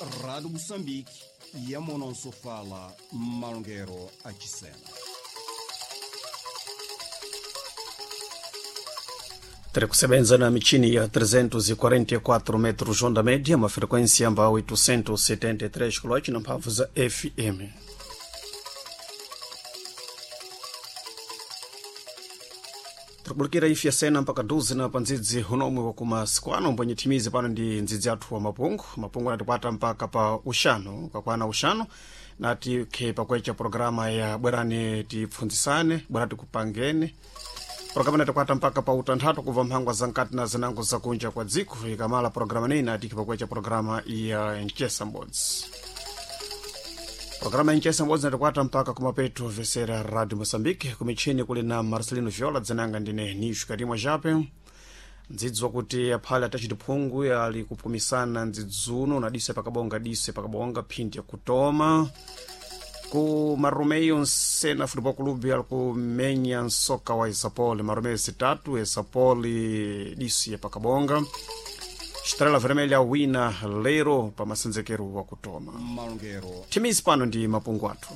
Rádio Moçambique, Yamononso fala Malongero Achisena. Tiri kusebenza na michini ya 344 metros onda média, uma frequência amba 873 kHz na mphamvu za FM. Tikubulikira ifi yasena mpaka 12 na pandzidzi unomwe wakumasiku ano mbwenye thimizi pano ndi ndzidzi athu wa mapungu. Mapungu anatikwata mpaka pa uxanu, kakwana uxanu nati khe pakwecha programa ya bwerani tipfunzisane, bwerani tikupangeni. Programa inatikwata mpaka pa utanthatu kubva mphangwa za nkati na zinango zakunja kwa dziko. Ikamala programa neyi natiki pakwecha programa ya nchesa mbodzi. Programa ya nchesa mbodzi inatikwata mpaka kumapeto vesera Radio Moçambique. Kumichini kuli na Marcelino Viola, dzinanga ndine Nishu Karimwa Jape. Ndzidzwa kuti aphale atachiti phungu ali kupumisana ndzidzuno na dise pakabonga, dise pakabonga phindi yakutoma ku Marumeio Nsena Futebol Clube ali kumenya nsoka wa Esapoli. Marumeio zitatu, Esapoli disi ya pakabonga. Estrela Vermelha wina lero pa masenzekero wa kutoma. Malongero Thimizi pano ndi mapungu athu.